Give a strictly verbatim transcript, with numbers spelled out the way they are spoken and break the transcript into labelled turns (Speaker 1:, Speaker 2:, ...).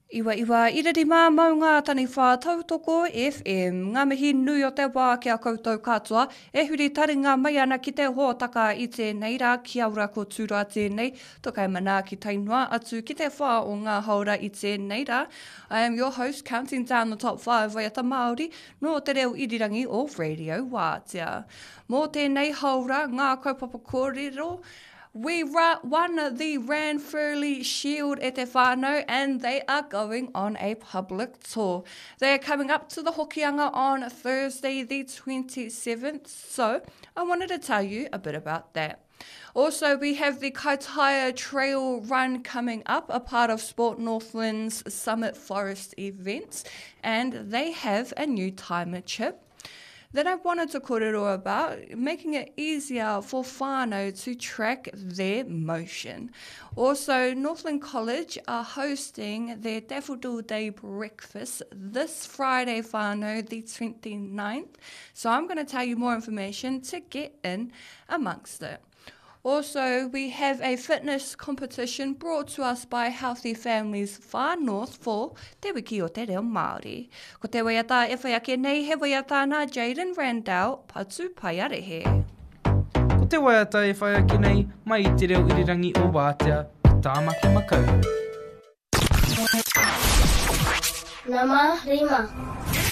Speaker 1: Iwa iwa ira rima maunga taniwha tautoko FM. Ngā mihi nui o te wā ki a koutou katoa e huri taringa mai ana ki te hōtaka i tēnei rā kia ora ko Tūroa tēnei, tokai manaaki tae noa atu ki te whā o ngā haora i tēnei rā. I am your host counting down the top five waiata Māori nō te reo irirangi o Radio Wātea. Mō tēnei haora ngā kaupapa kōrero, We won the Ranfurly Shield e te whānau and they are going on a public tour. They are coming up to the Hokianga on Thursday the twenty-seventh, so I wanted to tell you a bit about that. Also, we have the Kaitaia Trail Run coming up, a part of Sport Northland's Summit Forest events, and they have a new timer chip that I wanted to kōrero about, making it easier for whānau to track their motion. Also, Northland College are hosting their Daffodil Day breakfast this Friday, whānau, the twenty-ninth. So I'm gonna tell you more information to get in amongst it. Also, we have a fitness competition brought to us by Healthy Families Far North for Te Wiki o Te Reo Māori. Ko te waiata e whai ake nei, he waiata nā Jaden Randall, Patu Paiarehe.
Speaker 2: Ko te waiata e whai ake nei, mai i te reo irirangi o Wātea, ki Tāmaki Makaurau.
Speaker 3: Nama rima.